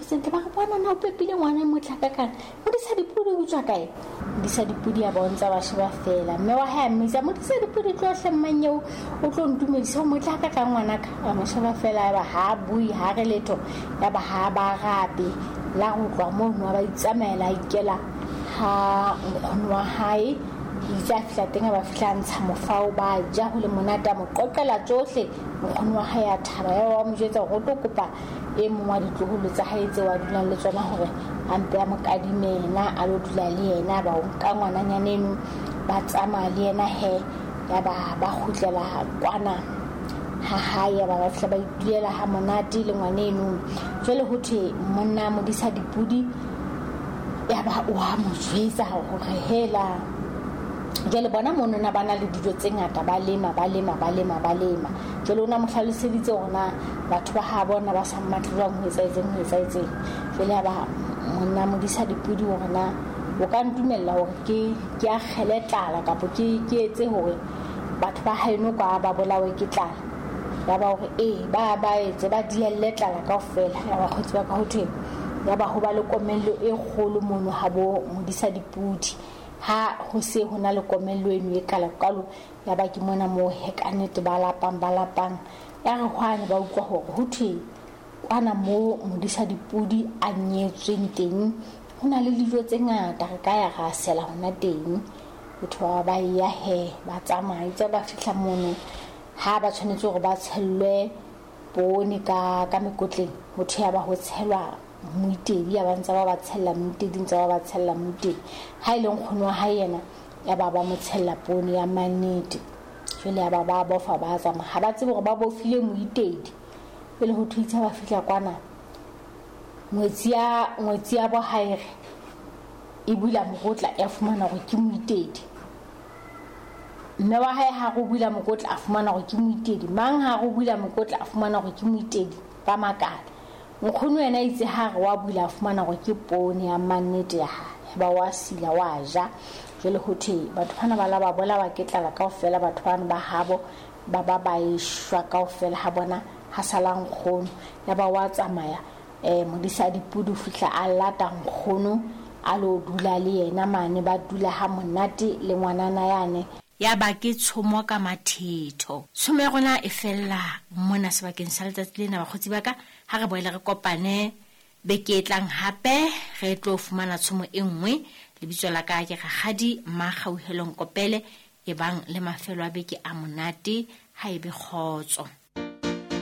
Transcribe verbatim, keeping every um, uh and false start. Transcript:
sentle ba re bona na o pepile ngwana motle hakakang Modisa Dipodi o tswa kae Modisa Dipodi a bontsha ba sheba fela mme wa hae a mmitsa Modisa Dipodi tlo hle mmanyeo o tlo ntumedisa o motle hakakang ngwanaka a mo sheba fela ya ba ha bue ha re letho ya ba ha ba rabe la go tloha mono ba itsamaela a ikela ha nkgono wa hae itse a fihla teng a ba fihla ntsha mofao ba ja ho le monate a mo qoqela tsohle nkgono wa hae a thaba ya wa mo jwetsa hore o tlo kopa e mong wa ditloholo tsa hae tseo a dulang le tsona hore a mpe a mo kadime yena a lo dula le yena ba o nka ngwananyana eno ba tsamaya le yena he ya ba ba kgutlela kwana ha hae ba ba fihla ba itulela ha monate le ngwana eno jwale ho thwe monna Modisa Dipodi ya ba o a mo jwetsa hore hela jwale bona monona ba na le dijo tse ngata ba lema ba lema ba lema ba lema jwale o na mo hlaloseditse hore na batho ba ha bona ba sa mmatle jwang ho etsa etseng ho etsa etseng jwale ya ba monna Modisa Dipodi hore na o ka ntumella hore ke ke akgele tlala kapa ke ke etse hore batho ba haeno kwa ba bolawe ke tlala ya ba hore ee ba ba etse ba dielle tlala kaofela ya ba kgotsi ba ka ho thwe ya ba ho ba le komello e kgolo mono ha bo Modisa Dipodi ha ho se ho na le komello eno e kala kalo ya ba ke mona moo he ka nnete ba lapang ba lapang ya re hwane ba utlwa hore ho thwe kwana moo Modisa Dipodi a nyetsweng teng ho na le dijo tse ngata re ka ya ra sela hona teng batho ba ba ya he ba tsamaya itse ba fihla mono ha ba tshwanetse hore ba tshellwe poone ka ka mekotleng ho thwe ya ba ho tshelwa moitedi ya ba ntse ba ba tshella moitedi ntse ba ba tshella moitedi ha e le nkgono wa hae yena ya ba ba mo tshella poone ya mannete jwale ya ba ba bofa ba tsamaya ha ba tsebe hore ba bofile moitedi pele ho thwe itse ba fihla kwana ngwetsi ya ngwetsi ya bo haere e bula mokotla ya fumana hore ke moitedi mme wa hae ha go bula mokotla a fumana hore ke moitedi mang ha go bula mokotla a fumana hore ke moitedi ba makala nkgono yena itse ha re wa bula a fumana hore ke poone ya mannete ya hae ba wa sila wa ja jwale ho thwe batho bana ba la ba bolawa ke tlala kaofela batho bana ba habo ba ba ba eshwa kaofela ha bona ha sala nkgono ya ba wa tsamaya eh Modisa Dipodi fihla a lata nkgono a lo dula le yena mane ba dula ha monate le ngwanana yane ya ba ke tshomo ka mathetho tshomo ya rona e fella mona sebakeng sa letsatsi lena bakgotsi ba ka ha re boele re kopane beke e tlang hape re tlo fumana tshomo e nngwe lebitso la ka ke Rakgadi Makgauhelong Kopele e bang le mafelo a beke a monate ha ebe kgotso.